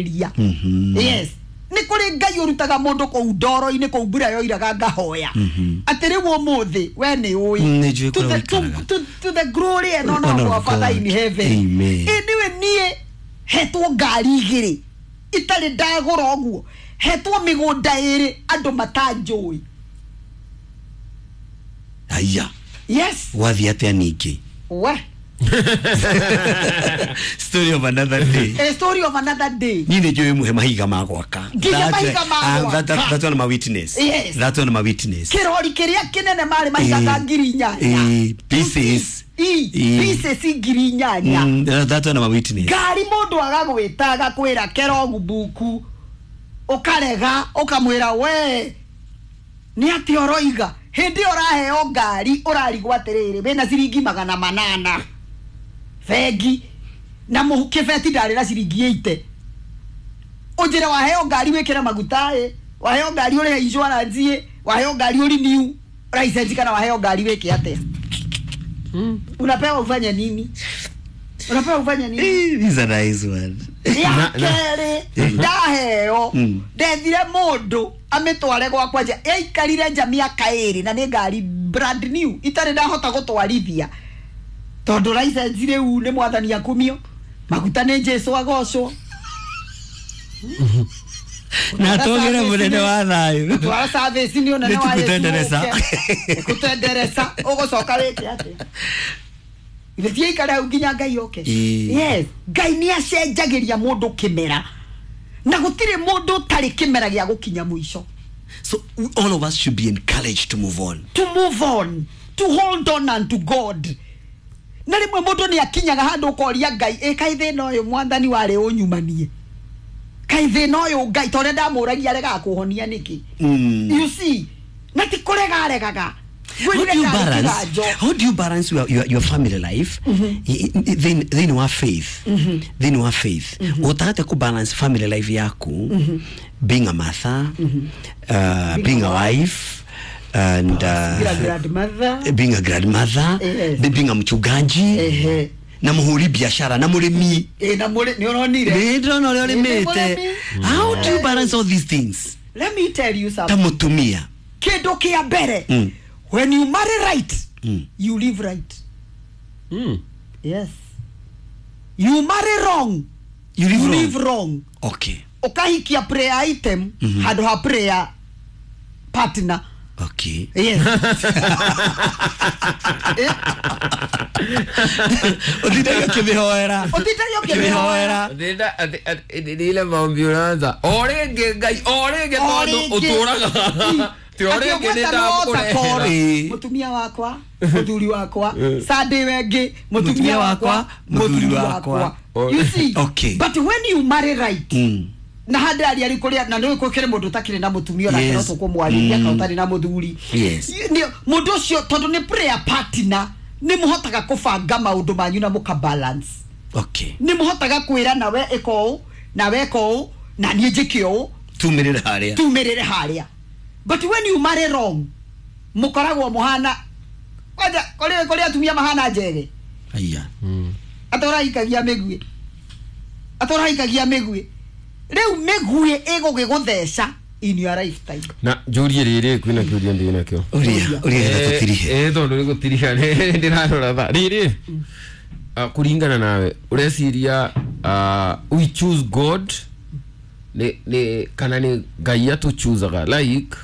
Ria. Yes, nä kå rä Ngai å rutaga må ndå kå u ndoro-inä kå u mbura yoiraga ngahoya atä rä u å må thä we nä å Nĩ njũĩ kũrĩa ũikaraga. To the glory and honor Honor of our of Father God. in heaven. Amen. Ĩ nĩwe niĩ hetwo ngari igĩrĩ itarĩ ndagũra ũguo, hetwo mĩgũnda ĩrĩ andũ matanjũĩ. Aya. Yes. Gwathiĩ atĩa ningĩ? We. Story of another day. A story of another day. Niĩ nĩ njũĩ muhe mahiga ma gwaka. Nginya mahiga ma gwaka. That one my witness. Yes. That one my witness. Kĩrori kĩrĩa kĩnene marĩ mahiga 8,000. Pieces. Pieces 8,000. That one my witness. Ngari mũndũ agagwĩta agakwĩra kerogu buku, ũkarega ũkamwĩra we nĩ atĩ ũroiga. Hĩndĩ ĩyo ũraheo ngari ũrarigwo atĩrĩrĩ, wĩna ciringi 800 bengi na kĩbeti ndarĩ na ciringi 80. Ũnjĩre waheo ngari wĩkĩre maguta ĩ, waheo ngari ũrĩhe insurance ĩ, waheo ngari ũ renew license, kana waheo ngari wĩke atĩa? Unapewa ufanye nini? Unapewa ufanye nini? Eh, this is a nice one. Ya kerĩ ndaheo, ndethire mũndũ amĩtware gwakwa nja, yaikarire nja mĩaka 2 na nĩ ngari brand new itarĩ ndahota gũtwarithia tondũ license rĩu nĩ Mwathani akumio, maguta nĩ Jesu agocwo. Na togere mũnene wa thayũ. Twara service nĩ ũnene wa Yesu. Nĩtũkũtendereza. Ũke. Nĩkũtendereza ũgũcoka wĩke atĩa? Ithe tiaikare hau nginya Ngai oke. Ĩĩ. Yes, Ngai nĩ acenjagĩria mũndũ kĩmera na gũtirĩ mũndũ ũtarĩ kĩmera gĩa gũkinya mũico. So all of us should be encouraged to move on. To move on, to hold on unto God. Na rĩmwe mũndũ nĩ akinyaga handũ ũkoria Ngai, ĩ kaĩ thĩna ũyũ Mwathani warĩ ũnyumanie, kaĩ thĩna ũyũ Ngai ta ũrĩa ndamũragia aregaga kũhonia nĩkĩ? You see, na ti kũrega aregaga. How do you balance? How do you balance your family life thĩinĩ wa faith? Thĩinĩ wa faith. Ũhotaga ku balance family life yaku, being a mother, being a wife, and Being a grandmother. Being a grandmother, Yes. being a mchungaji, na mũhũri biashara na mũrĩmi. Ĩ, na mũrĩ nĩ ũronire. Nĩ ndĩrona ũrĩa Nĩ ũrĩmĩte. mũrĩmi. How do you balance all these things? Let me tell you Ta something. mũtumia. Kĩndũ kĩa mbere, when you marry right, you live right. Yes, you marry wrong, You live you wrong. live wrong. Ũkahikia prayer item handũ ha prayer partner. Yes. Eh, Ũtindage ũkĩmĩhoera. Ũtindage ũkĩmĩhoera. Ndĩnda ile maombi ũraanza o rĩngĩ, Ngai, o rĩngĩ, O tondũ rĩngĩ. ũtũraga ti o rĩngĩ nĩ ndakũrehera. Mũtumia wakwa, mũthuri wakwa, Sunday wengĩ, mũtumia wakwa, mũthuri wakwa. You see? But when you marry right, na handä aria rä kå na nä kå kä rä må ndå ũtakĩrĩ na mũtumia onake no tå kå mwarĩria kana ũtarĩ na mũthuri. Mũndũ ũcio tondũ nĩ prayer partner, nĩ mũhotaga kũbanga maũndũ manyu na mũka balance. Nĩ mũhotaga kwĩra nawe ĩka ũũ, nawe ĩka ũũ, na niĩ njĩke ũũ. Tumĩrĩre harĩa. Tumĩrĩre harĩa. But when you marry wrong, mũkoragwo mũhana kwanja kũrĩ atumia mahana njege. Aya. Atũraikagia mĩguĩ, atũraikagia mĩguĩ, rĩu mĩguĩ ĩgũgĩgũtheca in your lifetime. Na njũrie rĩrĩ, kwĩna kĩũria ndĩ nakĩo. Ũria, ũria getha tũtirihe. Eh, tondũ nĩ gũtiriha ndĩrarora thaa rĩrĩ. Kũringana nawe, ũreciria we choose God nĩ kana nĩ Ngai atũchuzaga, like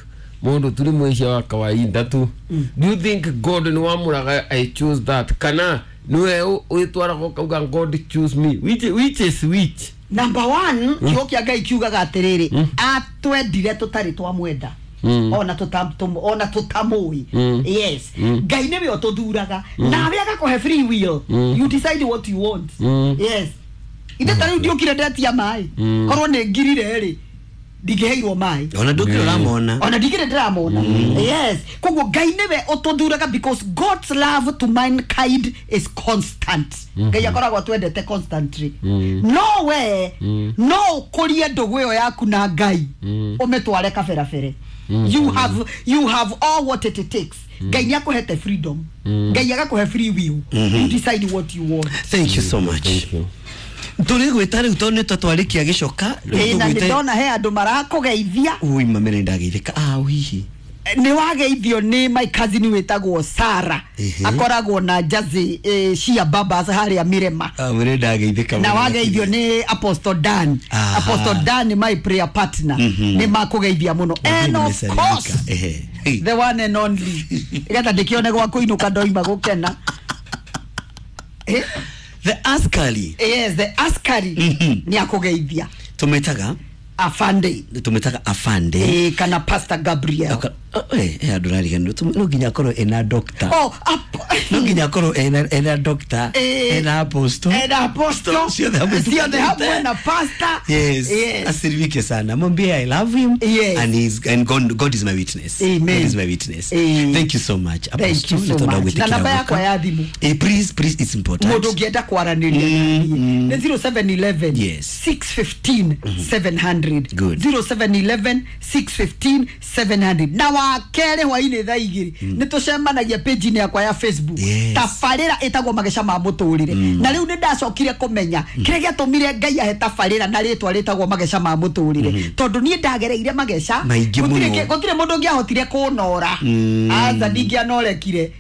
mũndũ tu nĩ mwĩhia wa kawaida tu? Do you think God nĩ wamũraga "I choose that", kana nĩwe wĩtwaraga ũkauga "God choose me"? Which is which? Number one, kiugo kĩa Ngai kiugaga atĩrĩrĩ, atwendire tũtarĩ twamwenda, ona tũtamũĩ. Yes, Ngai nĩwe ũtũthuraga nawe agakũhe free will. You decide what you want. Yes, ithe ta rĩu ndiũkire ndetia maĩ, korwo nĩ ngirire rĩ, ndingĩheirwo maĩ. Ona ndũkĩrĩ ũramona. Ona ndigire ndĩramona. Yes, koguo Ngai nĩwe ũtũthuraga because God's love to mankind is constant. Ngai akoragwo atwendete constantly. No we no ũkũrie ndũgũ ĩyo yaku na Ngai, ũmĩtware kaberabere. You have all what it takes. Ngai nĩ akũhete freedom, Ngai agakũhe free will. You decide what you want. Thank you so much. Thank you. Tũrĩ gwĩta rĩu tondũ nĩ twatwarĩkia gĩcoka. Ĩĩ, na nĩ ndona he andũ marakũgeithia. Ui mamere ndageithĩka. Ah, hihi. Nĩ wageithio nĩ my cousin wĩtagwo Sara. Ehe. Akoragwo na Jazzy cia Babas harĩa Mirema. Ah, mwene ndageithĩka. Na wageithio nĩ Apostle Dan. Aha. Apostle Dan nĩ my prayer partner. Nĩ makũgeithia mũno. And of course Ehe. the one and only getha ndĩkĩone gwa kũinũka ndoima gũkena. Eh, The askari. Yes, the askari nĩ akũgeithia. Tũmĩtaga Afande. Tũmĩtaga afande. Eh, kana Pastor Gabriel. Andũ rariganĩrwo no nginya akorwo ena doctor. Oh, No nginya akorwo ena doctor, Eh, ena apostle. ena apostle. Ciothe hamwe. Ciothe hamwe na pastor. Yes. Yes. Asirimike sana. Mwambie I love him. Yes. And he's and God is my witness. Amen. God is my witness. Eh. Thank you so much. Thank Apostle, you so nĩ tondũ wa much. Na gwĩtĩkĩra namba yakwa gũka. ya thimũ. Eh, please, please, it's important. Mũndũ ũngĩenda kwaranĩria naniĩ nĩ 0711 Yes. 615 700. Good. 0711 615 700. Na wa kerĩ hwainĩ thaa igĩrĩ nĩ tũcemanagia page-inĩ yakwa ya Facebook. Yes. Tabarĩra ĩtagwo mageca ma mũtũrĩre. Na rĩu nĩ ndacokire kũmenya kĩrĩa gĩatũmire Ngai ahe tabarĩra na rĩtwa rĩtagwo mageca ma mũtũrĩre, tondũ niĩ ndagereire mageca Maingĩ Gũtirĩ mũno. gũtirĩ mũndũ ũngĩahotire kũnora. Aca ndingĩanorekire.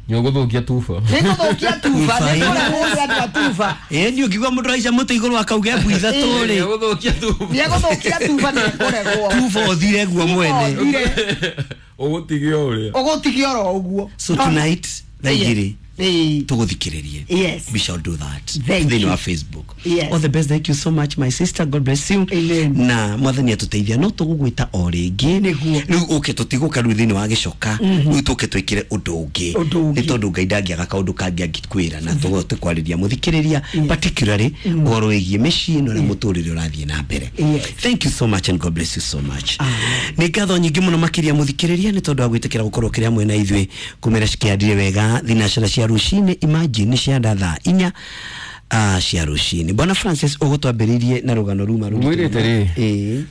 Nĩũgũthũkia tuba. Nĩngũthũkia tuba, nĩngũrehwo nĩ andũ a tuba. Ĩ ni ũngiuga mũndũ aica mũtĩ igũrũ akauga mbu ithatũ rĩ. Nĩũgũthũkia tuba. Nĩegũthũkia tuba, nĩekũregwo. Tuba ũthire guo mwene. Ũthire. Ũgũtigio ũrĩa. Ũgũtigio oro ũguo. So tonight thaa igĩrĩ Ĩĩ. tũgũthikĩrĩrie. Yes. We shall do that. Thank Thĩinĩ you. wa Facebook. Yes. All the best. Thank you so much my sister. God bless you. Amen. Na mwathani atũteithia no tũgũgwĩta o rĩngĩ. Nĩguo. Rĩu ũke tũtigũka rĩu thĩinĩ wa gĩcoka. Rĩu tũke twĩkĩre ũndũ ũngĩ. Ũndũ ũngĩ. Nĩ tondũ Ngai ndangĩaga kaũndũ kangĩ angĩkwĩra na tũgote kwarĩria mũthikĩrĩria particularly ũhoro wĩgiĩ mĩciĩ na ũrĩa mũtũrĩre ũrathiĩ na mbere. Yes. Thank you so much and God bless you so much. Nĩ ngatho nyingĩ mũno makĩria mũthikĩrĩria nĩ tondũ wa gwĩtĩkĩra gũkorwo kĩrĩ hamwe na ithuĩ kũmera cikĩandire wega thinacara cia rũcinĩ. Imagine cia thaa inya cia rũcinĩ. Bwana Francis ũgũtwambĩrĩirie na rũgano ruma rũritũ Mwĩrĩte rĩ? mũno. Ĩĩ.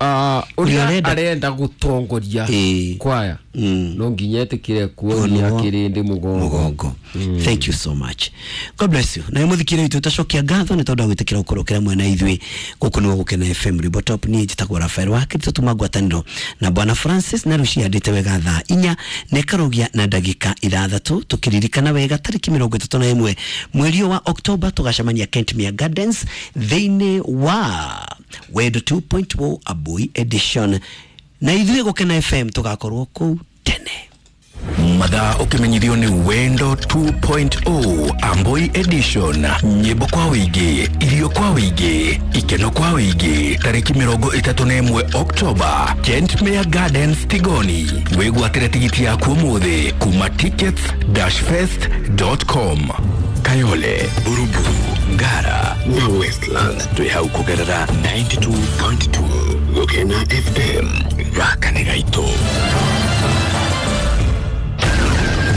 Ũrĩa Ũrĩa arenda gũtongoria Ĩĩ. kwaya no nginya etĩkĩre kuonia Kuonwo kĩrĩndĩ mũgongo. Mũgongo. Thank you so much. God bless you. Na mũthikĩrĩria witũ tacokia ngatho nĩ tondũ wa gwĩtĩkĩra gũkorwo kĩrĩ hamwe na ithuĩ gũkũ nĩguo Gũkena FM Rwĩmbo Top. Niĩ njĩtagwo Rafael Wakiri, tũtuma ngwatanĩro na Bwana Francis na rĩu ciandĩte wega thaa inya na ĩkarũgia na ndagĩka ithathatũ, tũkĩririkana wega tarĩki 31 mweri ũyũ wa Oktoba tũgacemania Kentmere Gardens thĩinĩ wa Wendo 2.0 Abui Edition, na ithuĩ Gũkena FM tũgakorwo kũu tene. Mathaa ũkĩmenyithio nĩ Wendo 2.0 Amboi Edition. Nyĩmbo kwa wĩingĩ, irio kwa wĩingĩ, ikeno kwa wĩingĩ. Tarĩki 31 Oktoba, Kentmere Gardens, Tigoni. Wĩgwatĩre tigiti yaku ũmũthĩ kuma tickets-fest.com. Kayole, Buruburu, Ngara na Westlands twĩ hau kũgerera 92.2 Gũkena FM. Gaka nĩ gaitũ.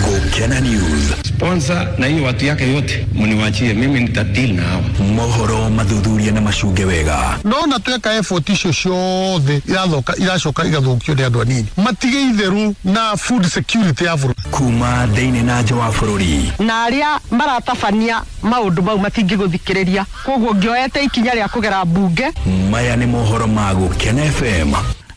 Gũkena News. Sponsor na hiyo watu yake yote mniwachie mimi, nitadeal na hawa. Mohoro mathuthuria na macunge wega. Ndona tweka effort icio ciothe irathoka iracoka igathũkio nĩ andũ anini matige itheru na food security ya bũrũri. Kuma thĩinĩ na nja wa bũrũri. Na arĩa maratabania maũndũ mau matingĩgũthikĩrĩria, koguo ngĩoete ikinya rĩa kũgera mbunge. Maya nĩ mohoro ma Gũkena FM.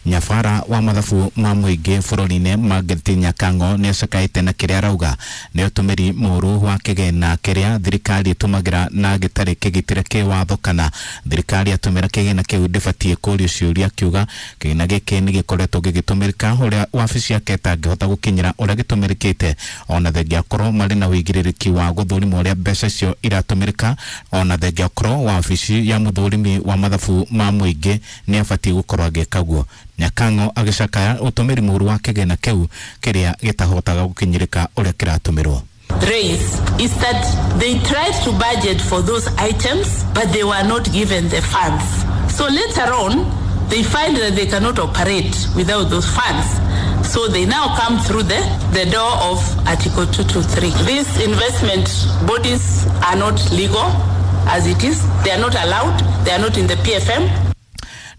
Nyabara wa mathabu ma mũingĩ bũrũri-inĩ Margaret Nyakango nĩ acakaĩte na kĩrĩa arauga nĩ ũtũmĩri mũũru wa kĩgĩna kĩrĩa thirikari ĩtũmagĩra na gĩtarĩ kĩgitĩre kĩwatho, kana thirikari atũmĩra kĩgĩna kĩu ndĩbatiĩ kũrio ciũria, akiuga kĩgĩna gĩkĩ nĩ gĩkoretwo gĩgĩtũmĩrĩka ũrĩa wabici yake ĩtangĩhota gũkinyĩra ũrĩa gĩtũmĩrĩkĩte, ona thengia akorwo marĩ na ũigĩrĩrĩki wa gũthũrima ũrĩa mbeca icio iratũmĩrĩka, ona thengia akorwo wabici ya mũthũrimi wa mathabu ma mũingĩ nĩ abatiĩ gũkorwo agĩka guo. Nyakango agĩcakaya ũtũmĩri mũũru wa kĩgĩna kĩu kĩrĩa gĩtahotaga gũkinyĩrĩka ũrĩa kĩratũmĩrwo. Raise is that they tried to budget for those items, but they were not given the funds. So later on, they find that they cannot operate without those funds. So they now come through the door of Article 223. These investment bodies are not legal as it is. They are not allowed. They are not in the PFM.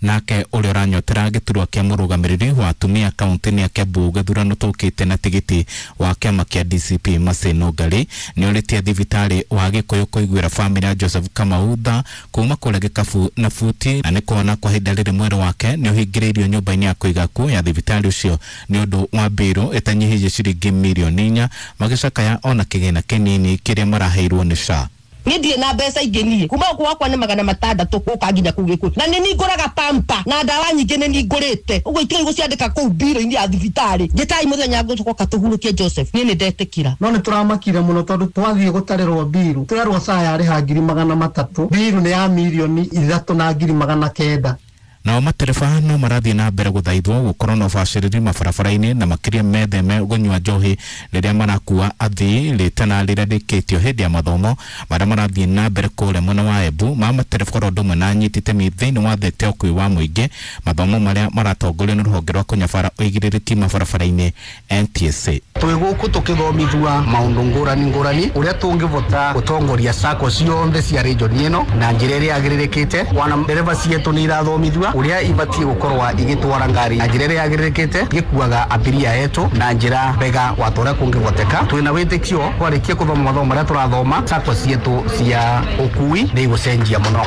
Nake ũrĩa ũranyotera gĩturwa kĩa mũrũgamĩrĩri wa atumia kaunti-inĩ ya Kiambu gĩthurano tũkĩte na tigiti wa kĩama kĩa DCP Mercy Nũngari nĩorĩtie thibitarĩ wa Gĩkũyũ kũiguĩra bamĩrĩ ya Joseph Kamau tha kuma kũrĩa gĩkabu na buti, na nĩ kuona kwa ihinda rĩrĩ mwĩrĩ wake nĩ ũhingĩrĩirio nyũmba-inĩ ya kũiga kuo ya thibitarĩ ũcio nĩ ũndũ wa mbĩrũ ĩtanyihĩirie ciringi mirioni 4 magĩcakaya ona kĩgĩna kĩnini kĩrĩa maraheirwo nĩ SHA. Niĩ ndirĩ na mbeca ingĩ niĩ kuma gũkũ gwakwa nĩ 600 gũka nginya kũu Gĩkũyũ, na nĩ ningũraga pampa na ndawa nyingĩ nĩ ningũrĩte ũguo itigai gũciandĩka kũu mbiro-inĩ ya thibitarĩ. Njĩtai mũthenya ngũcoka tũhurũkie Joseph, niĩ nĩ ndetĩkĩra. No nĩ tũramakire mũno tondũ twathiĩ gũtarĩrwo mbiru twerwo SHA yarĩha 300,000, mbiru nĩ ya 3,900,000. Nao matereba no marathiĩ na mbere gũthaithwo gũkorwo na ũbacĩrĩri mabarabara-inĩ na makĩria metheme kũnyua njohi rĩrĩa marakua athii rĩtana rĩrĩa rĩkĩtio hĩndĩ ya mathomo marĩa marathiĩ na mbere kũrĩa mwena wa Embu ma matereba oro ũndũ ũmwe na anyiti itemi thĩinĩ wa thekta ya ũkuui wa mũingĩ, mathomo marĩa maratongorio nĩ rũhonge rwa kũnyabara ũigĩrĩrĩki mabarabara-inĩ NTSA. Twĩ gũkũ tũkĩthomithua maũndũ ngũrani ngũrani ũrĩa tũngĩbota gũtongoria sacco ciothe cia region ĩno na njĩra ĩrĩa yagĩrĩrĩkĩte. Wana ndereba cietũ nĩ irathomithua uria ibatie gukorwa igitwara ngari na njira iria yagĩrĩrĩkĩte gĩkuaga abiria etu na njira mbega wa toria kũngĩhoteka. Twĩna wĩtĩkio twarikia kũthoma mathomo marĩa tũrathoma sacco cietu cia ũkui nĩ igũcenjia mũno.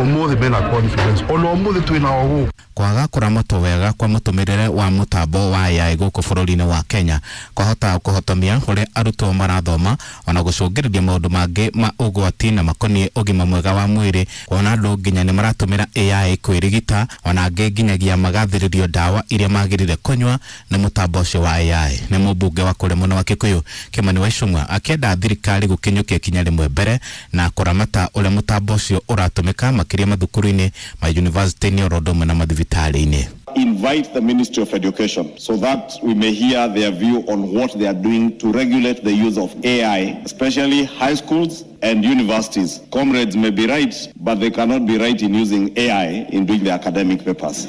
Ũmũthĩ mena confidence ona ũmũthĩ twĩna o gũkũ. Kwaga kũramatwo wega kwa mũtũmĩrĩre wa mũtambo wa AI gũkũ bũrũri-inĩ wa Kenya kwahota kũhotomia ũrĩa arutwo marathoma ona gũcũngĩrĩria maũndũ mangĩ ma ũgwati na makoniĩ ũgima mwega wa mwĩrĩ, kuona andũ nginya nĩ maratũmĩra AI kwĩrigita ona angĩ nginyagia magathĩrĩrio ndawa iria magĩrĩire kũnyua nĩ mũtambo ũcio wa AI. Nĩ mũmbunge wa kũrĩa mwena wa Kikuyu Kimani wa Ichung'wa akĩenda thirikari gũkinyũkia ikinya rĩmwe mbere na kũramata ũrĩa mũtambo ũcio ũratũmĩka makĩria mathukuru-inĩ ma yunivasĩtĩ-inĩ oro ũndũ ũmwe na mathibitarĩ-inĩ. Invite the Ministry of Education so that we may hear their view on what they are doing to regulate the use of AI, especially high schools and universities. Comrades may be right, but they cannot be right in using AI in doing their academic papers.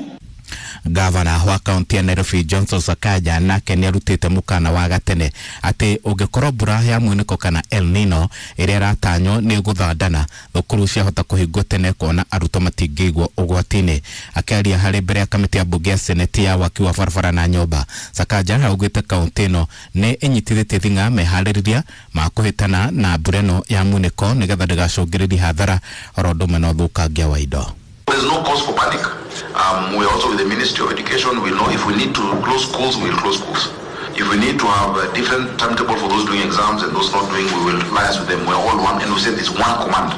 Gavana wa kaunti ya Nairobi Johnson Sakaja nake nĩ arutĩte mũkana wa gatene atĩ ũngĩkorwo mbura ya mwĩnĩko kana El Nino ĩrĩa ĩratanywo nĩ gũthandana, thukuru ciahota kũhingwo tene kuona arutwo matingĩigwo ũgwati-inĩ. Akĩaria harĩ mbere ya kamĩtĩ ya mbunge ya seneti ya waki wa barabara na nyũmba, Sakaja augĩte kaunti ĩno nĩ ĩnyitithĩtie thing'a meharĩrĩria ma kũhĩtana na mbura ĩno ya mwĩnĩko nĩgetha ndĩgacũngĩrĩrie hathara oro ũndũ ũmwe na ũthũkangia wa indo. There's no cause for panic. We are also with the Ministry of Education. We know if we need to close schools, we will close schools. If we need to have a different timetable for those doing exams and those not doing, we will liaise with them. We are all one, and we said there's one command.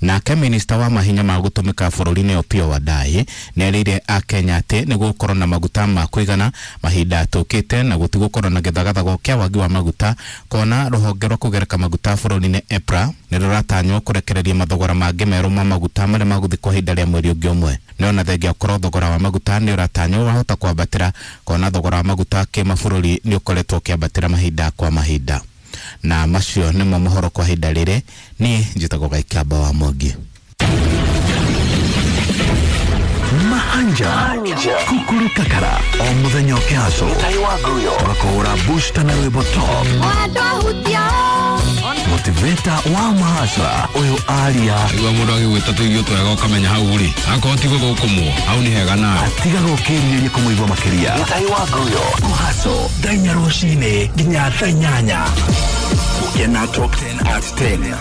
Nake minista wa mahinya ma gũtũmĩka bũrũri-inĩ Opiyo Wandayi nĩerĩire akenya atĩ nĩ gũgũkorwo na maguta ma kũigana mahinda tũkĩte na gũtigũkorwo na gĩthagathago kĩa wagi wa maguta, kuona rũhonge rwa kũgereka maguta bũrũri-inĩ EPRA nĩ rũratanywo kũrekereria mathogora mangĩ merũ ma maguta marĩa magũthiĩ kwa ihinda rĩa mweri ũngĩ ũmwe. Nĩ ona thengia gũkorwo thogora wa maguta nĩ ũratanywo wahota kwambatĩra, kuona thogora wa maguta kĩmabũrũri nĩ ũkoretwo ũkĩambatĩra mahinda kwa mahinda. Na macio nĩmo mohoro kwa ihinda rĩrĩ. Niĩ njĩtagwo Gaikamba wa Mwangi. Mahanja Kukuru Kakara o muthenya ũkĩhaco tũgakũhũra booster na rwĩmbo top motivator wa mahacra ũyũ aria igua mũndũ agĩgwĩta tũirio twega ũkamenya hau rĩ akorwo ti gũthũkũmwo hau nĩ hega nawe atiga gũkĩrirĩria kũmũigua makĩria kũhaco thaa inya rũcinĩ nginya thaa inyanya. Gũkena Top 10 at 10.